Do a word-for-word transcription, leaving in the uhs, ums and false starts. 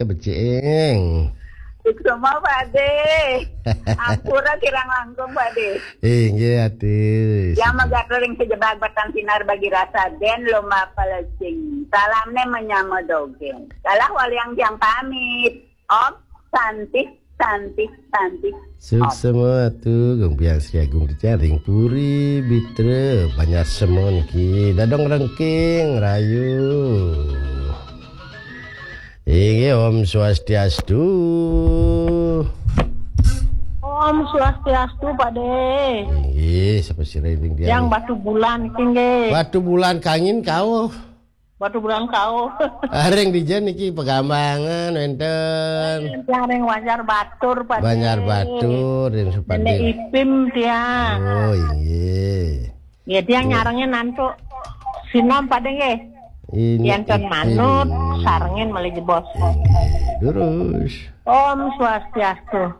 Tebecing. Suksma, Pak De. Ampura kirang langkung, Pak De. Inggih, atur. Yang megat ring sejebag batang sinar bagi rasa den lomba pelecing. Salamne menyama dogen. Kalah waliang tiang pamit. Om Santi, Santi, Santi. Suksma atu, Gung Biang Sri Agung Ticaring Puri, Bitra, Banjar Semon ki, Dadong Rengking, Rayu. Inggih, Om Swastiastu. Om Swastiastu, Pak De. Inggih, sapa sira ring dia? Yang Batu Bulan, inggih. Batu Bulan kangin kau. Batu Bulan kau. Areng di jen niki pegambangan wenten. Yang ring Banjar Batur, Pak De. Banjar Batur, ring Supading. Nenek Ipim tiang. Oh, inggih. Ya, tiang nyarengin nantu. Sinom, Pak De, nggih. Ini Yanten manut, sarengin malih jebos. Inggih, durus. Om Swastiastu.